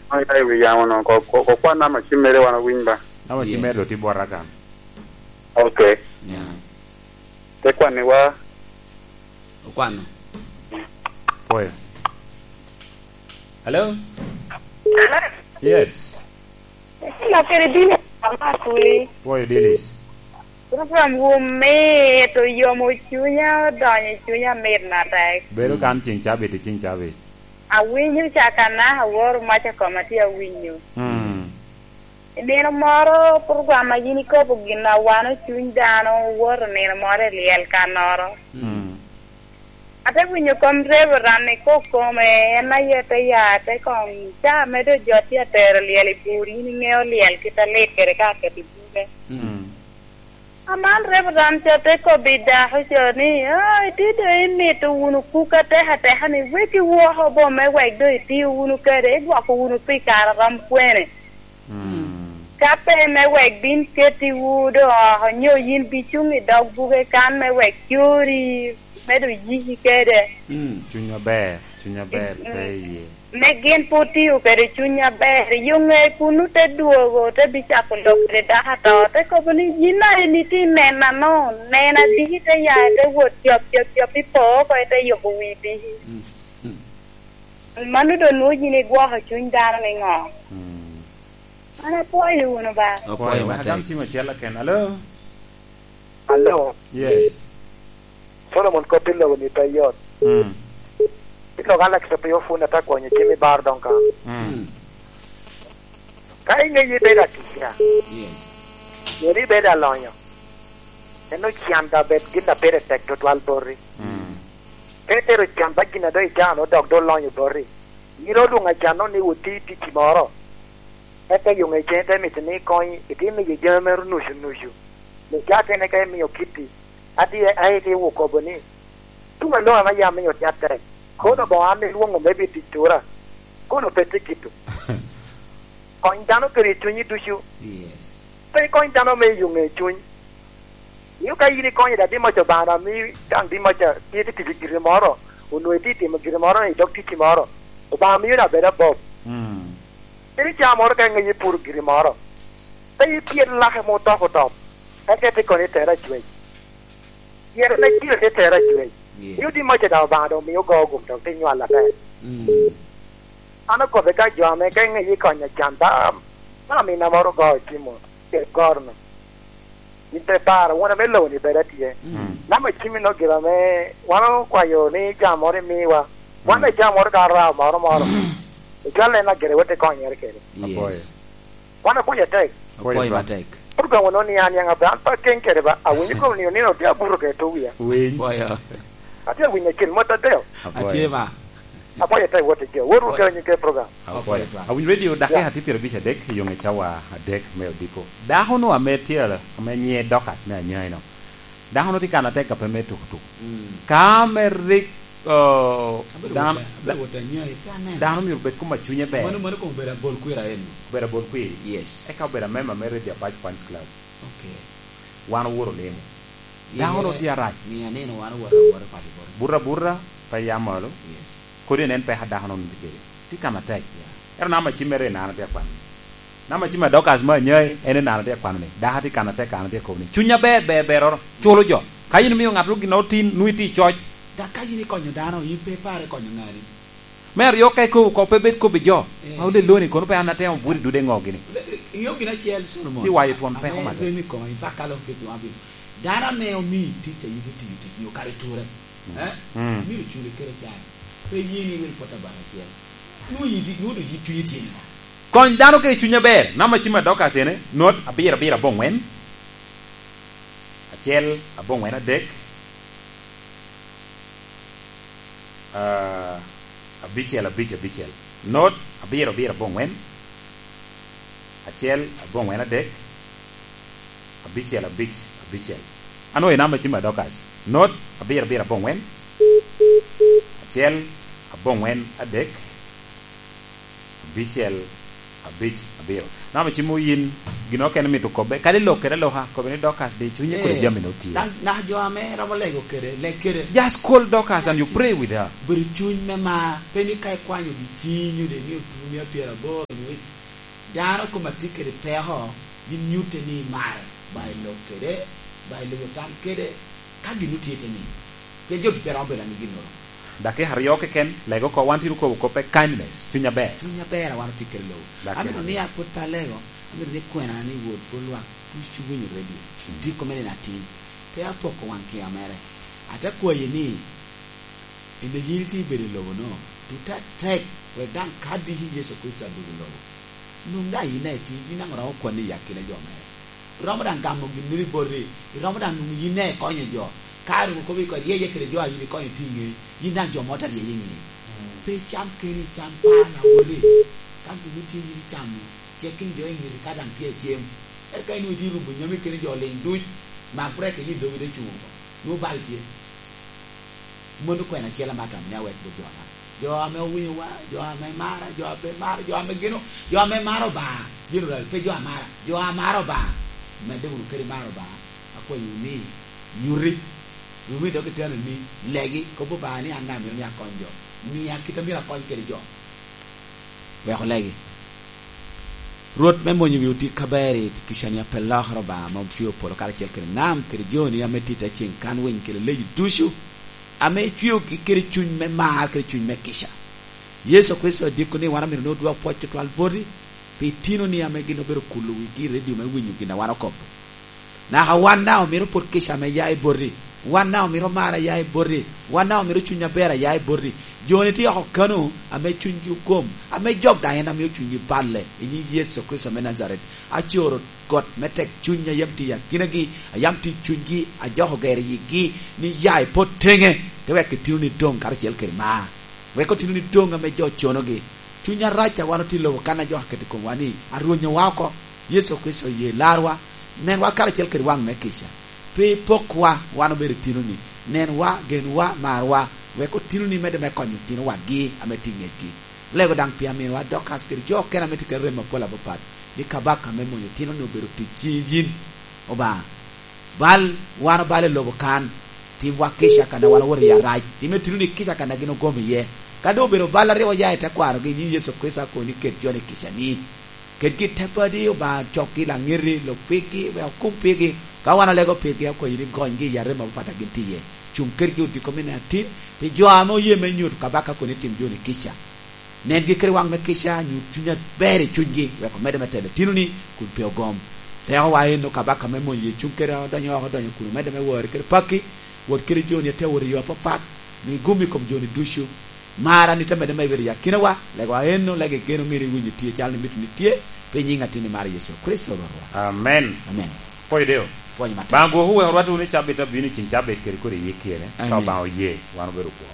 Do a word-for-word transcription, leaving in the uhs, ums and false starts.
Aya i wi yamo no, ko, ko, ko kwan nama ci mere wan owiny ba. Ama ci mere Yes. doti bwota kan. Ok. Yeah. Te kwanni wa. Okwano. Pwoyo. Hello? Yes. Ila kede bino ama kuli. Pwoyo Dilis. Program wu mit, oyomo cunya, odonyo i cunya mit matek. Bedo kan ceng cabit i ceng cabit. Awinyo cakana, aworo mac akoma tye awinyo. Mm. I nino moro, program a yin ikobo gin a wano cuny dano, owoto nino moro i lyel kannoro. Mm. Ate winyo kom Reverend ni kok kome, en aye te ya, te koŋ ca medo jo tye atero lyel i bur, yin iŋeo lyel kit a lit kede ka aketo i buke. Mm. Aman Reverend ca te kobbi dako ca ni, "Ah, itye doŋ imito wunu kuk atek ateka ni, wek iwoko bo me wek doŋ itio wunu kede, idwoko wunu pi kare rom kwene?" Mm. Ka pe me wek bin ketiwu doŋ oko, nyo yin bicuŋ i dog buke kan me wek cori, me doŋ yiki kede. Mm. Cuny aber, cuny aber, Mm. pe iye. Me gin pwod tio kede cuny aber, i yo ŋe kunnu te dwogo, te bicako lok kede dako ato, te kobo ni, "Yin a eni tye nena no, nena diki te ya, te wot cop, cop, cop, ipo oko, ite yubo wi diki." Mm. Mm. Mano doŋ nwoŋo yin igwoko cuny dano niŋo? Mm. An apwoyo wunu ba. Apwoyo Apwoyo, wek matek. Agam cim acel aken. Alo? Alo. Yes. Solomon, kop i lobo ni pe yot. Mm. Ilo ka lakita pe ofun ata kwonyo cim i bar doŋ ka. Mm. Mm. Ka iŋeyo ibedo atica, Yes. pien ibedo alonyo, en ocan da bed gin a pire tek tutwal boti. Mm. Ka itero can ba gin a doŋ icano dok doŋ olonyo boti, yin olwoŋo acan no ni woti ticci moro, eka yoŋe cen te mito ni ikony, iti miyo jami mere nucu nucu. Ni ka atene ka imio kitti, ati, a iti okobo ni, "Tuŋ aloŋo ame yam miyo tye atek? Kono boŋo an ilwoŋo me bi tic tura? Kono pe tye kito." Kony dano kede cunyi ducu. Yes. Pe ikony dano me yoŋe cuny. Mio ka yin ikonyo da di moc Obaŋa, mi daŋ di moc a tye tye tic i giri moro, onwoŋo itye timo giri moro i dog ticci moro, Obaŋa mio na bedo abob. Mm. Kadi ca moro ka iŋeyo ipuro giri moro, pe ipyel lake ma otok otok, eka ite kono itere acwec. Pien en aciro te tere acwec. Yes. Mio di moc daŋ Obaŋa doŋ mio ogo gum dok te nywal atek. Mm. An okobbe ka jo ame ka iŋeyo ikonyo can ba, ba amina moro ogo i Timo, i goro-nu. Yin pe paro, wun ame lobo-ni bedo atye. Mm. Namba cimmi no gire ame wan okwayo ni jam moro imiwa. Wan Mm. ame jam moro ka rao moro moro. Icwal en agire wot ikonyere kede. Yes. Apwoyo. Wan apwoyo atek. Apwoyo Apwoyo ba. matek. Program ono ni an yaŋ abe, an pe akeŋ kede ba, awinyo kom ni onino tye abuto kede to wia. Winy. Apwoyo. Atye awinyo acel mot adeo. Apwoyo. Atye ba. Apwoyo atek wot i jo. Wot wot Apwoyo. kede nying kede program. Apwoyo. Apwoyo ba. Awinyo radio dakika Yeah. tye pyerabic adek, i yoŋe cawa adek me odiko. Dako no ame tye, ame nyiŋe Dorcas me Anyai no. Dano tye kan atek a pe me tukutuk. Mm. Ka me rik, oh, Abedo dan-, wot a-, abedo wot anyoe, pe aneno. Dano myero obed kom a cunye ber. Mano, mano kong obedo abol kwira eno. Obedo abol kwiri? Yes. Eka obedo amemba me Radio Apac Fans Club. Okay. Wan oworo lemo. Dano Yere, tye arac. Mi aneno wan oworo awora pati boro. Buto abuta, pe ya malo. Yes. Kodi en peko a dako-nu tye kede. Tye kan atek. Yeah. Ento namba cim mere i nano tye akwano. Namba cim a Dorcas me Anyai, en i nano tye akwano ni. Dako tye kan atek, kan tye kobo ni. Cuny aber, ber, beroro. Culo jo. Ka yin imio ŋat gin otin, nwoŋo itye i coc. Dak ka yin ikonyo dano, yin pe ipare konyo ŋani. Me aryo ka ikobo kop, pe bed kobbi jo. Eh. Ma oleloni, kono pe an atemo bwoti dude ŋo gini. Le-, iŋeo gin acel, Solomon? Ti wayo twon peko Ame matek. rem i koma, in fact, ka lok keti wan bino. Dano ame omii tic a in itiyo tic, nyo kare ture. Eh? Mm. Myero culi kede can. Pe ye ni iwil pot abaka acel. Nwoŋo yiti, nwoŋo doŋ yit cunyi tye niŋo? Kony dano kede cuny aber. Namba cim a Dorcas ene, not abiro abiro aboŋwen. Acel aboŋwen adek. Ah, abicel abic abicel. Not abiro abiro aboŋwen. Acel aboŋwen adek. Abicel abic abicel. Ano i namba cim a Dorcas. Not abiro abiro aboŋwen. Acel aboŋwen adek. Abicel Abic, abiro. Namo cimo yin, gin okene mito kobbe, kadi lok kede aloka, kobbe ni Dorcas di cunye kodi Eh, jami no tye. Dang, na jo ame romo lego kede, leg kede. Just call Dorcas and you pray with her. Bedo cuny me mar, pe ni ka ikwanyo gi cinyo de ni otunia pyeraboro ni, dano kome atye kede peko, gin nyutte ni imare, ba ilok kede, ba iloyo tam kede, ka gin otye te ni. Pien jo ducu pe romo bedo anigi ginnoro. Dakika aryo keken, lego oko, wan tye okobo koppe kindness, cuny aber. Cuny aber a wan otye kede lobo. Dakika aryo. Amito ni apwod pe alego, amito ni kwena ni wod pwod lwak ducu winyo redio. Mm. Diko me nino atin. Pe apoko wang kiwa mere. Ate kwayi ni, ene yin itye ibedo i lobo no, tuta tek, wek daŋ ka diki Yecu Kricito adugo i lobo. Nwoŋ daŋ yin daŋ itye, yin daŋ oromo kwanni i akina jo mere. Iromo daŋ gamo ginnoro i boti, iromo daŋ nwoŋo yin daŋ ikonyo jo. Ka onwoŋo kobo i kodi ryeye kede jo a yin ikonyo tye i ŋei, yin daŋ jo mo te ryeye i ŋei. Mm. Pe icam keni, icam par na woti. Ka gin otye yin icamo, cek keny jo i ŋeti ka daŋ tye acem. Eka ka inwoŋo itye i rubo nyami keni jo liŋ duc, mak brek i yin dogi te cuŋ oko. Nwoŋo bal tye. Mano kwena acel ame atamo ni awek bot jo mara. Jo ame owinyowa, jo ame mara, jo ame pe mara, jo ame geno, jo ame maro Obaŋa, general, pe jo amara, jo amaro Obaŋa. Medde wunu kede maro Obaŋa, akwayo ni, nyuti, rumi dok iteno ni, legi, kobo Obaŋa ni an daŋ amito ni akony jo, mia kit a myero akony kede jo. Wek olegi. Rwot me mony wi otic aber i kica ni apelokere Obaŋa ame ocweo polo karacel kede nam kede joni ame tye i te ceŋ kan winy kede leyi ducu, ame icweogi kede cuny me mar kede cuny me kica. Yecu Kricito adiko ni wan omito ni odwok pwoc tutwal boti pi itinoni ame gin obedo kulo wigi i redio me winyo gin a wan okobo. Naka wan daŋ omito pwod kica ame ya i boti. Wan daŋ omito mar a ya i boti. Wan daŋ omito cuny aber a ya i boti. Jo-ni tye oko kano ame cunygi ogom, ame jok daŋ en amio cunygi balle i nyiŋ Yecu Kricito me Najaret. Acoro got me tek cuny a yam tye i akinagi, a yam tye i cunygi, ajoko gero yigi ni ya ipot teŋe, te wek itinoni doŋ karacel kede mar. Wek otinoni doŋ ame jo conogi. Cuny arac a wan otye i lobo kan a jo aketo i komwa ni, arwonyowa oko. Yecu Kricito oye larwa, nenwa karacel kede waŋ me kica. Pe ipokwa, wan obedo itinoni. Nenwa, genwa, marwa, wek otinoni medde me konyo otino wadgi ame tye i ŋetgi. Lego daŋ pi aminowa Dorcas kede jo okene ame tye kede remo apol apapat, ni kabaka me mony otinoni obedo tic ciŋ yin, Obaŋa. Bal wan obalo i lobo kan, timwa kica kan a wan owoto i arac, tim otinoni kica kan a gin ogom iye. Ka doŋ obedo bal aryo oya i tekwarogi i nyiŋ Yecu Kricito, akobo ni ket jo-ni kicani. Ketgi i te padi, Obaŋa, cokgi laŋeti, lok pigi, wek okum pigi. Ka wan olego pigi, akwayi ni gonygi i arem apapat a gin tye iye. Cuŋ kedgi odiko me nino atin, pi jo ame oye me nyuto kabaka kun itim jo-ni kica. Nengi kede waŋ me kica, nyut cuny aber i cunygi, wek omedde me telo itinoni, kun pe ogom. Tekowa enno kabaka me mony ye cuŋ kede odonyo oko, odonyo kun omedde me wori kede pakki, wot kede jo-ni ate wot i yo apapat, mi gum i kom jo-ni ducu. Mar a nit amedde me bedo i akinawa, legowa enno, lego geno meri winyo tye calo ni mito ni tye, pi nyiŋ atin i mar Yecu Kricito Rwotwa. Amen. Amen. Pwoyo deo. Pwony matek. Baŋ gwoku wek orwat wunu i cabit abino i cin cabit kede kodi i yik kene, ka Amen. Obaŋa oye, wan obedo kwo.